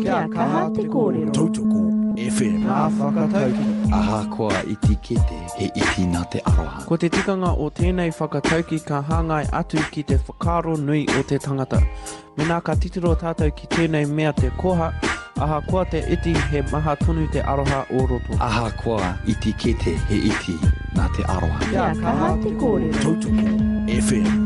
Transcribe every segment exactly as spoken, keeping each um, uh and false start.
Kia kaha te kōrero. Tautoko F M. Ngā whakatauki. Ahakoa iti kete, he iti nā te aroha. Ko te tikanga o tēnei whakatauki ka hāngai atu ki te whakaaro nui o te tangata. Mēnā ka titiro tātou ki tēnei mea te koha, ahakoa te iti he maha tonu te aroha o roto. Ahakoa iti kete, he iti nā te aroha. Kia kaha te kōrero. Tautoko F M.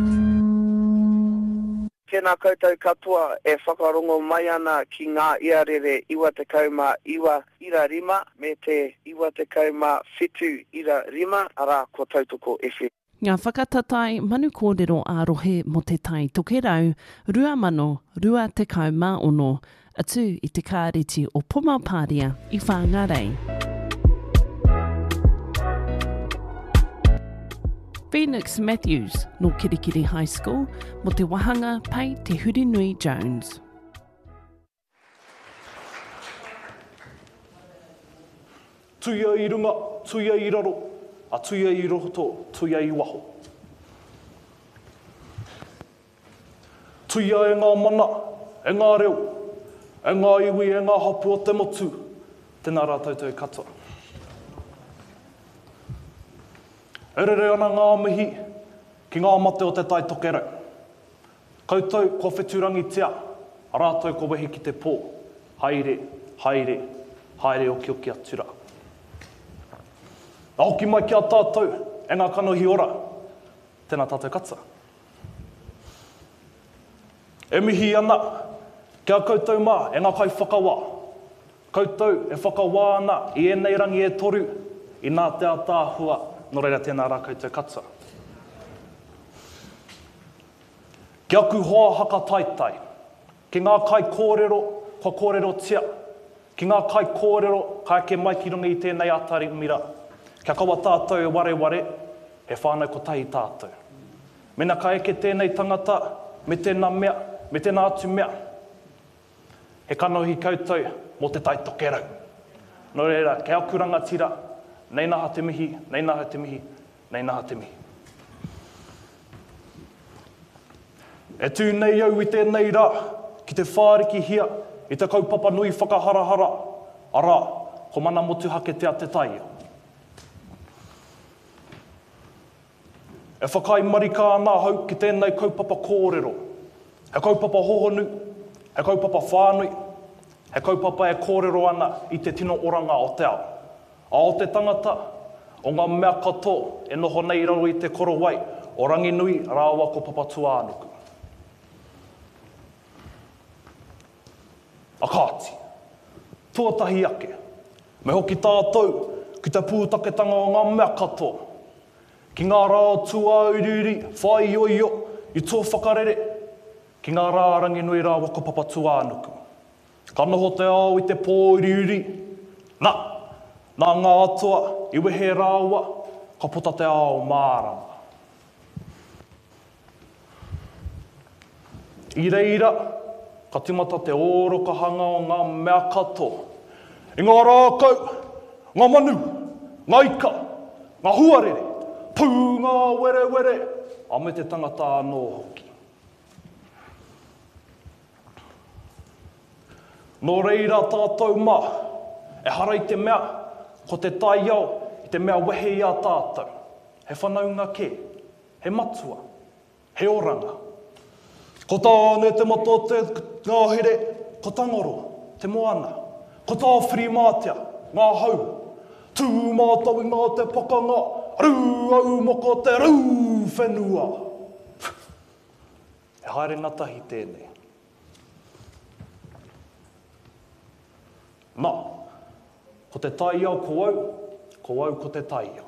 Tēnā koutou katoa e whakarongo mai ana ki ngā iarere iwa tekau mā iwa ira rima me te iwa tekau mā whitu ira rima, arā ko Tautoko F M. Ngā whakatatae manu kōrero ā-rohe mō Te Tai Tokerau rua mano rua tekau mā ono, atu i te kāreti o Pomapāria i Whāngārei. Phoenix Matthews nō Kirikiri High School mō te wahanga Pei Te Hurinui Jones. Tuia i runga, tuia i raro, a tuia i roto, tuia i waho. Tuia e ngā mana, e ngā reo, e ngā iwi, e ngā hapu o te motu, tēnā rā tautau katoa. E rere ana ngā mihi ki ngā mate o te Tai Tokerau. Koutou kua wheturangitia, a rātou ko wehi ki te pō. Haere, haere, haere okioki atu rā. A hoki mai ki a tātou e ngā kanohi ora, tēnā tātou katoa. E mihi ana ki a koutou mā e ngā kaiwhakawā. Koutou e whakawā ana i ēnei rangi e toru i nā te ataahua, nō reira tēnā rā koutou katoa. Ki aku hoa haka taitai, ki ngā kai kōrero kua kōrerotia, ki ngā kai kōrero ka eke mai ki runga i tēnei atari mira, kia kaua tātou e wareware, he whānau kotahi tātou. Mena ka eke tēnei tangata, me tēnā mea, me tēnā atu mea, he kanohi koutou mō Te Tai Tokerau. Nō reira, kei aku rangatira, nei naha te mihi, nei naha te mihi, nei naha te mihi. E tū nei au i tēnei rā ki te whārikihia i te kaupapa nui whakaharahara, arā, ko mana motuhake te a te taiao. E whakai marika ana ahau ki tēnei kaupapa kōrero. He kaupapa hohonu, he kaupapa whānui, he kaupapa e kōrero ana i te tino oranga o te ao. A o te tangata, o ngā mea katoa e noho nei raro i te korowai o Ranginui rāua ko Papatūānuku. A kāti, tuatahi ake, me hoki tātou ki te pūtaketanga o ngā mea katoa, ki ngā rā tuauriuri, whaioio, i tō whakarere, ki ngā rā Ranginui rāua ko Papatūānuku. Ka noho te ao i te pōuriuri, nā, nā ngā atua i wehe rāua, ka puta te ao mārama. I reira, ka timata te ōrokahanga o ngā mea katoa. I ngā rākau, ngā manu, ngā ika, ngā huarere, pū ngā werewere, a me te tangata anō hoki. Nō reira tātou mā, e hara i te mea, ko te taiao i te mea wehe i a tātou. He whanaunga kē, he matua, he oranga. Ko Tāne te mata o te ngahere, ko Tangoro te moana, ko Tāwhirimātea ngā hau, tū mātau i ngā te pakanga, rū au moko te rū whenua. He haere ngatahi tēnei. Nā, ko te taiao ko au, ko au ko te taiao.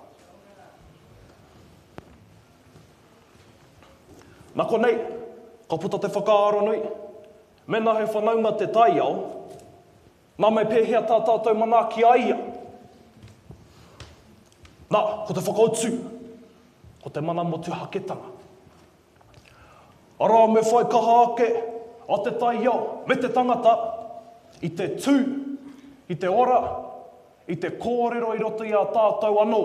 Nā konei, ka puta te whakaaro nui, mena he whanaunga te taiao, nā me pēhea tā tātou manaaki a ia. Nā, ko te whakautu, ko te mana motuhaketanga. Arā me whai kaha ake a te taiao me te tangata i te tū, i te ora, i te kōrero i roto i a tātou anō.